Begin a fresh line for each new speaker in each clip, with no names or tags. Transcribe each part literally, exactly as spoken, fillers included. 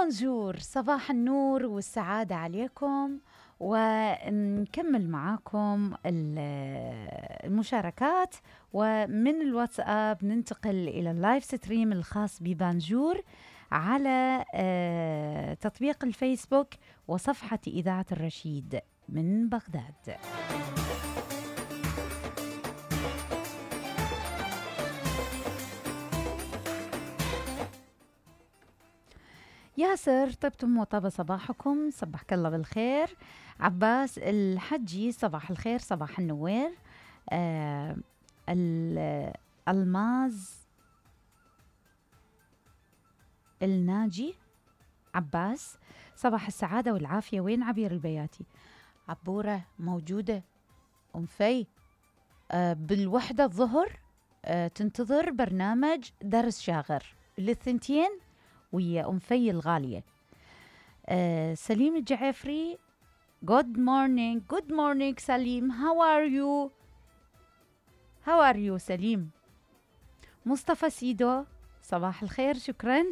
بونجور، صباح النور والسعادة عليكم. ونكمل معاكم المشاركات، ومن الواتساب ننتقل إلى اللايف ستريم الخاص ببانجور على تطبيق الفيسبوك وصفحة إذاعة الرشيد من بغداد. ياسر، طبتم وطاب صباحكم، صبحك الله بالخير. عباس الحجي، صباح الخير، صباح النوير. آه الألماز الناجي عباس، صباح السعادة والعافية. وين عبير البياتي؟ عبورة موجودة. أم في آه بالوحدة الظهر آه تنتظر برنامج درس شاغر للثنتين ويا أم في الغالية. آه سليم الجعفري، good morning good morning سليم، how are you how are you سليم. مصطفى سيدو، صباح الخير، شكرا.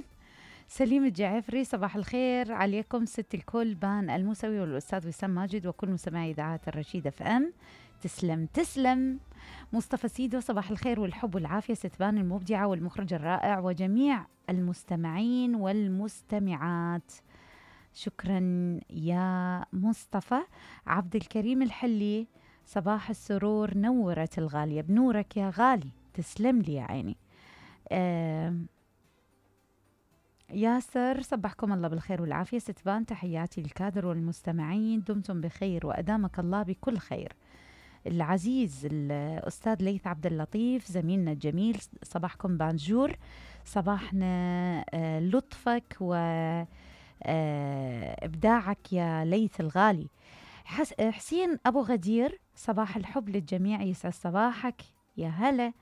سليم الجعفري، صباح الخير عليكم ست الكل، بان الموسوي والأستاذ وسام ماجد وكل مستمعي إذاعة الرشيد اف ام. تسلم تسلم. مصطفى سيدو، صباح الخير والحب والعافية ست بان المبدعة والمخرج الرائع وجميع المستمعين والمستمعات. شكرا يا مصطفى. عبد الكريم الحلي، صباح السرور، نورت الغالية بنورك يا غالي، تسلم لي يا عيني. آه ياسر، صبحكم الله بالخير والعافية ستبان، تحياتي للكادر والمستمعين، دمتم بخير وأدامك الله بكل خير. العزيز الأستاذ ليث عبد اللطيف زميلنا الجميل، صباحكم بانجور، صباحنا آه لطفك وإبداعك يا ليث الغالي. حسين أبو غدير، صباح الحب للجميع، يسعد صباحك يا هلا.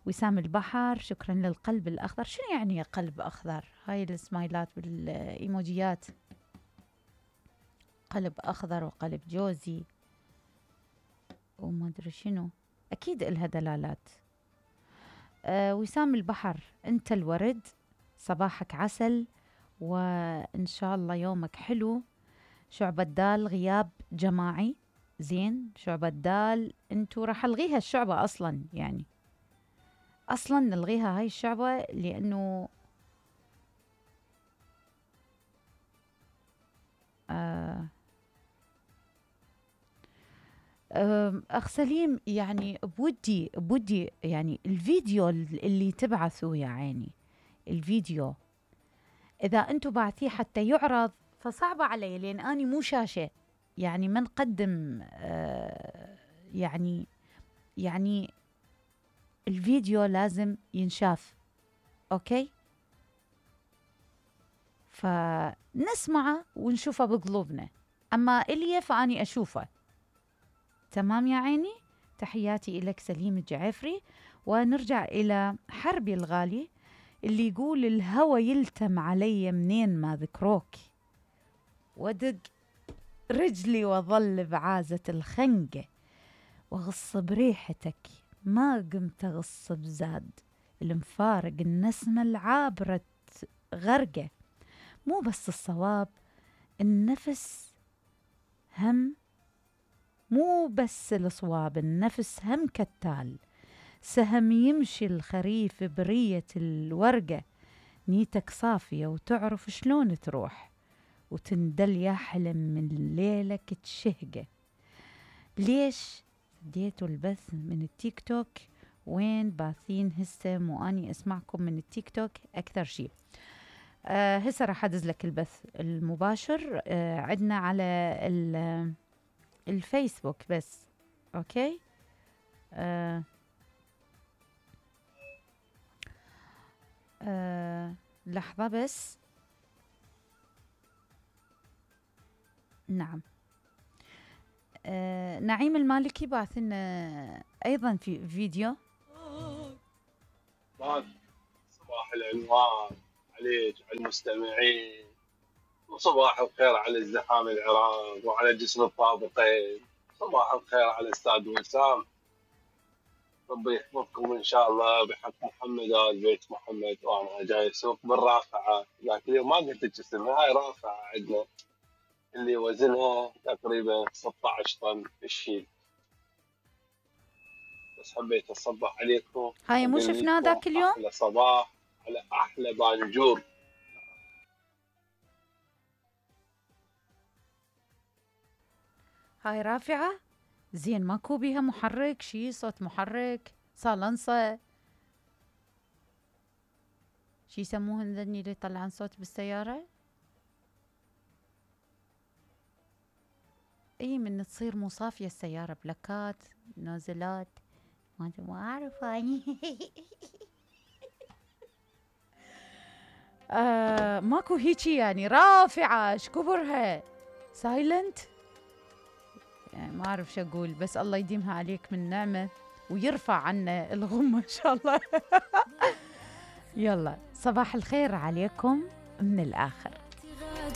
وسام البحر، شكرا للقلب الأخضر. شنو يعني قلب أخضر؟ هاي السمايلات بالإيموجيات، قلب أخضر وقلب جوزي وما أدري شنو، أكيد إلها دلالات. أه وسام البحر، أنت الورد، صباحك عسل وإن شاء الله يومك حلو. شعبة دال، غياب جماعي، زين. شعبة دال أنتو راح ألغيها الشعبة أصلا، يعني أصلا نلغيها هاي الشعبة لأنه آه أخ سليم، يعني بودي بودي يعني الفيديو اللي تبعثوا يا عيني، الفيديو إذا أنتوا بعثيه حتى يعرض فصعب علي، لأن أني مو شاشة، يعني ما نقدم آه يعني يعني الفيديو لازم ينشاف، أوكي؟ فنسمعه ونشوفه بقلوبنا، أما إلي فأني أشوفه. تمام يا عيني؟ تحياتي إليك سليم الجعفري. ونرجع إلى حربي الغالي اللي يقول الهوى يلتم علي منين ما ذكروك، ودق رجلي وظل بعازة الخنقة، وغص بريحتك ما قمت أغص بزاد، المفارق النسمة العابرة غرقة، مو بس الصواب النفس هم، مو بس الصواب النفس هم كالتال، سهم يمشي الخريف برية الورقة، نيتك صافية وتعرف شلون تروح، وتندل يا حلم من ليلك تشهقة. ليش ديتوا البث من التيك توك؟ وين باثين هسه مو أني أسمعكم من التيك توك أكثر شيء. أه هسه راح أدز لك البث المباشر أه عدنا على الفيسبوك بس، أوكي. أه أه لحظة بس. نعم. أه نعيم المالكي بعث لنا أيضا في فيديو.
صباح العنوان عليك على المستمعين، وصباح الخير على الزحام العراق وعلى جسر الطابقين. صباح الخير على الأستاذ وسام. ربي يحفظكم ان شاء الله بحق محمد وآل بيت محمد. وانا جاي اسوق بالرافعه ذاك اليوم ما قلت لك اسمها، هاي رافعه عندنا اللي وزنها تقريبا ستة عشر طن الشيل. بس حبيت اصبح عليكم
هاي مو
واقول
شفناه
لكم
ذاك اليوم؟
احلى صباح على احلى بانجور.
هاي رافعة زين، ماكو بيها محرك، شي صوت محرك، صالنصة، شي يسموهن ذني اللي يطلعن صوت بالسيارة؟ اي من تصير مو صافية السيارة، بلاكات نازلات ما ما اعرف اني. آه ماكو هيجي يعني رافعة شكبرها سايلنت، يعني ما اعرف شو اقول، بس الله يديمها عليك من نعمة ويرفع عنا الغمة ان شاء الله. يلا صباح الخير عليكم من الاخر.